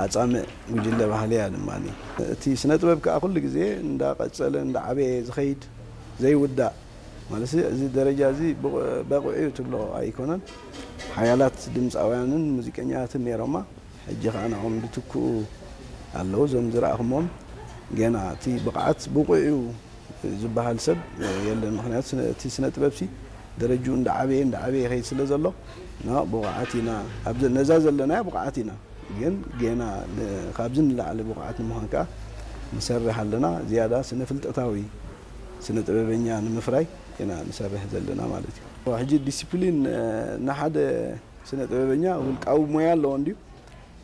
ኣጻምእ ጉጅለ ባህሊ እያ ድማ። እቲ ስነ ጥበብ ከኣ ኩሉ ግዜ እንዳቐጸለ እንዳዓበየ ዝኸይድ ዘይውዳእ ማለት እዚ ደረጃ እዚ በቑ- በቑዕ እዩ ትብሎ ኣይኮነን። ሓያላት ድምፃውያንን ሙዚቀኛታትን ነይሮማ። ሕጂ ከኣ ንዕኦም ዝትክኡ ኣለዉ። እዞም ዝረኣኹሞም ገና እቲ ብቕዓት ብቑዕ እዩ ዝበሃል ሰብ የለን። ምክንያቱ ስነ- እቲ ስነ ጥበብ ሲ ደረጅኡ እንዳዓበየ እንዳዓበየ ይኸይድ ስለ ዘሎ ና ብቑዓት ኢና ኣብዚ ነዛ ዘለናያ ብቑዓት ኢና። ግን ጌና ን- ካብዚ ንላዕሊ ብቑዓት ንምዃን ከዓ ንሰርሕ ኣለና። ዝያዳ ስነ ፍልጠታዊ ስነ ጥበበኛ ንምፍራይ ኢና ንሰርሕ ዘለና ማለት እዩ። ሕጂ ዲሲፕሊን ንሓደ ስነ ጥበበኛ ውልቃዊ ሞያ ኣለዎ እንድዩ።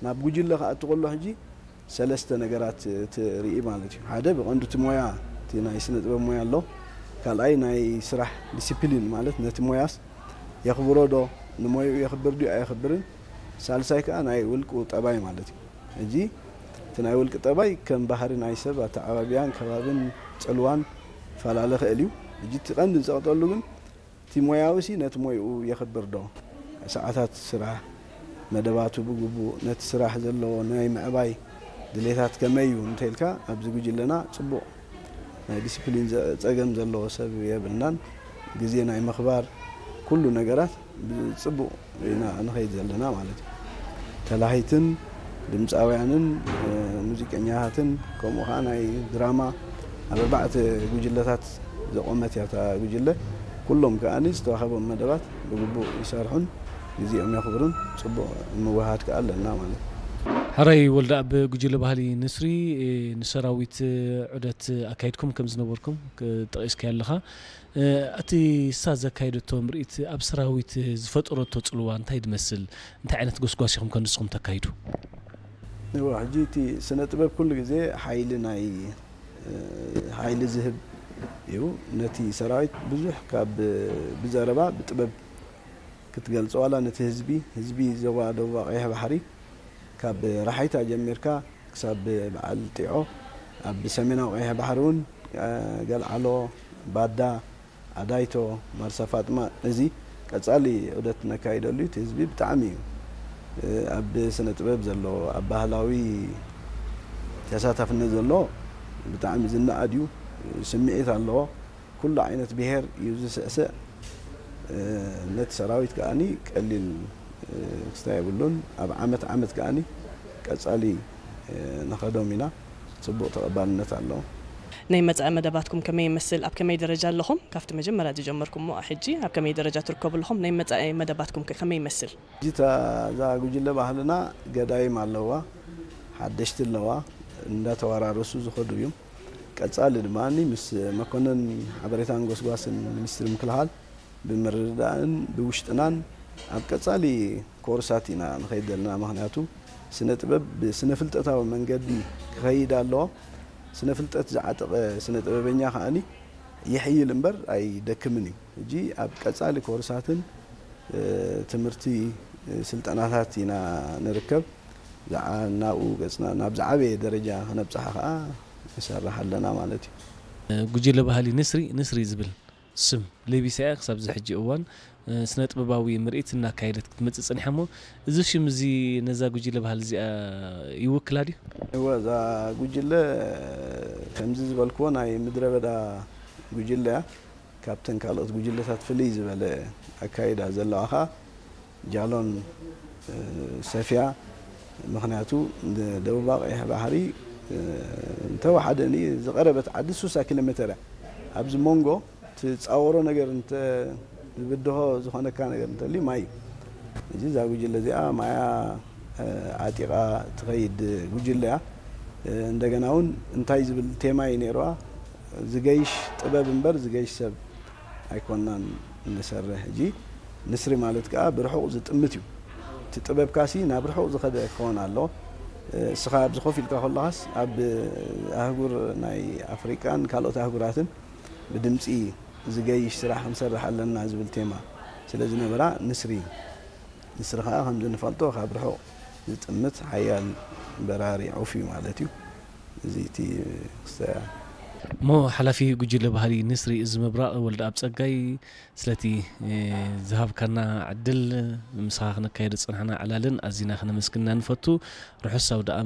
ናብ ጉጅለ ክኣቱ ከሎ ሕጂ ሰለስተ ነገራት ትርኢ ማለት እዩ። ሓደ ብቐንዱ እቲ ሞያ እቲ ናይ ስነ ጥበብ ሞያ ኣሎ። ካልኣይ ናይ ስራሕ ዲሲፕሊን ማለት ነቲ ሞያስ የኽብሮ ዶ ንሞይኡ የኽብር ድዩ ኣየኽብርን። ሳልሳይ ከዓ ናይ ውልቁ ጠባይ ማለት እዩ። ሕጂ እቲ ናይ ውልቂ ጠባይ ከም ባህሪ ናይ ሰብ ኣተዓባብያን ከባብን ፅልዋን ፈላለ ኽእል እዩ። ሕጂ እቲ ቀንዲ ዝፀቕጠሉ ግን እቲ ሞያዊ ሲ ነቲ ሞይኡ የኽብር ዶ? ሰዓታት ስራሕ፣ መደባቱ ብግቡእ፣ ነቲ ስራሕ ዘለዎ ናይ ምዕባይ ድሌታት ከመይ እዩ እንተኢልካ ኣብዚ ጉጅለና ፅቡቕ ናይ ዲስፕሊን ዘ- ፀገም ዘለዎ ሰብ የብልናን። ግዜ ናይ ምኽባር ኩሉ ነገራት ብፅቡቕ ኢና ንኸይድ ዘለና ማለት እዩ። ተላሂትን ድምፃውያንን ሙዚቀኛታትን ከምኡ ከዓ ናይ ድራማ ኣብ ኣርባዕተ ጉጅለታት ዘቆመት እያ እታ ጉጅለ። ኩሎም ከዓኒ ዝተዋህቦም መደባት ብግቡእ ይሰርሑን ግዜኦም የኽብሩን ፅቡቕ ምውሃድ ከዓ ኣለና ማለት እዩ። ሕራይ ወልደኣብ፣ ጉጅለ ባህሊ ንስሪ ንሰራዊት ዑደት ኣካይድኩም ከም ዝነበርኩም ጠቂስካዮ ኣለኻ። እቲ እሳ ዘካየደቶ ምርኢት ኣብ ሰራዊት ዝፈጠረቶ ፅልዋ እንታይ ዝመስል? እንታይ ዓይነት ጎስጓስ ኢኹም ከ ንስኹም ተካይዱ? እዋ ሕጂ እቲ ስነ ጥበብ ኩሉ ግዜ ሓይሊ ናይ ሓይሊ ዝህብ እዩ። ነቲ ሰራዊት ብዙሕ ካብ ብዘረባ ብጥበብ ክትገልጾ ዋላ ነቲ ህዝቢ ህዝቢ ዞባ ደቡብ ቀይሕ ባሕሪ ካብ ራሓይታ ጀሚርካ ክሳብ በዓል ጢዖ ኣብ ሰሜናዊ ቀይሕ ባሕሪ እውን ገልዓሎ፣ ባዳ፣ ኣዳይቶ፣ ማርሳ ፋጥማ እዚ ቀጻሊ ዑደት ነካይደሉ እቲ ህዝቢ ብጣዕሚ እዩ ኣብ ስነ ጥበብ ዘሎ ኣብ ባህላዊ ተሳታፍነት ዘሎ ብጣዕሚ ዝነኣድ እዩ። ስምዒት ኣለዎ። ኩሉ ዓይነት ብሄር እዩ ዝስዕስዕ። ነቲ ሰራዊት ከዓኒ ቀሊል ክስታይ የብሉን። ኣብ ዓመት ዓመት ከዓኒ ቀጻሊ ንኸዶም ኢና። ፅቡቕ ተቐባልነት ኣለዎ። ናይ መጻኢ መደባትኩም ከመይ ይመስል? ኣብ ከመይ ደረጃ ኣለኹም? ካብቲ መጀመርያ ዝጀመርኩሞ ሕጂ ኣብ ከመይ ደረጃ ትርከቡ ኣለኹም? ናይ መጻኢ መደባትኩም ከ ከመይ ይመስል? ሕጂ እታ እዛ ጉጅለ ባህልና ገዳይም ኣለዋ፣ ሓደሽቲ ኣለዋ፣ እንዳተወራረሱ ዝኸዱ እዮም። ቀጻሊ ድማ ምስ መኮነን ሓበሬታን ጎስጓስን ሚኒስትሪ ምክልኻል ብምርድዳእን ብውሽጥናን ኣብ ቀጻሊ ኮርሳት ኢና ንኸይድ ዘለና። ምኽንያቱ ስነ ጥበብ ብስነ ፍልጠታዊ መንገዲ ክኸይድ ኣለዎ። ስነ ፍልጠት ዝዓጠቐ ስነ ጥበበኛ ከዓኒ ይሕይል እምበር ኣይደክምን እዩ። ሕጂ ኣብ ቀጻሊ ኮርሳትን ትምህርቲ ስልጠናታት ኢና ንርከብ። ናብኡ ገፅና ናብ ዝዓበየ ደረጃ ክነብፅሓ ከዓ ንሰርሕ ኣለና ማለት እዩ። ጉጅለ ባህሊ ንስሪ ንስሪ ዝብል ስም ለቢሳ እያ ክሳብ እዚ ሕጂ እዋን ስነ ጥበባዊ ምርኢት እናካየደት ክትመፅእ ፀኒሓ እሞ እዚ ሽም እዚ ነዛ ጉጅለ ባህሊ እዚኣ ይውክላ ድዩ? እወ እዛ ጉጅለ ከምዚ ዝበልክዎ ናይ ምድረ በዳ ጉጅለ እያ። ካብተን ካልኦት ጉጅለታት ፍልይ ዝበለ ኣካይዳ ዘለዋ ከዓ ጃሎን ሰፍያ። ምኽንያቱ ደቡብ ቀይሕ ባሕሪ እንተወሓደ ዝቐረበት ዓዲ ሱሳ ኪሎ ሜተር እያ። ኣብዚ መንጎ ትፃወሮ ነገር እንተ ዝብድሆ ዝኾነካ ነገር እንተሊ ማይ እዩ። እዚ እዛ ጉጅለ እዚኣ ማያ ዓጢቓ ትኸይድ ጉጅለ እያ። እንደገና እውን እንታይ ዝብል ቴማ እዩ ነይርዋ? ዝገይሽ ጥበብ እምበር ዝገይሽ ሰብ ኣይኮናን ንሰርሕ። ሕጂ ንስሪ ማለት ከዓ ብርሑቕ ዝጥምት እዩ። እቲ ጥበብካሲ ናብ ርሑቕ ዝኸደ ክኸውን ኣለዎ። እስኻ ኣብዚ ኮፍ ኢልካ ከለኻስ ኣብ ኣህጉር ናይ ኣፍሪቃን ካልኦት ኣህጉራትን ብድምፂ ዝገይሽ ስራሕ ክንሰርሕ ኣለና ዝብል ቴማ ስለ ዝነበራ ንስሪ ንስሪ ከዓ ከምዚ ንፈልጦ ካብ ርሑቕ ዝጥምት ሓያል በራሪ ዑፍ እዩ ማለት እዩ። እዚ እቲ ክስተያ እሞ ሓላፊ ጉጅለ ባህሊ ንስሪ እዚ ምብራቕ ወልደኣብ ጸጋይ ስለቲ ዝሃብካና ዕድል ምሳኻ ክነካየዶ ዝጸናሕና ዕላልን ኣዚና ክነመስግንና ንፈቱ። ርሑስ ኣውደኣ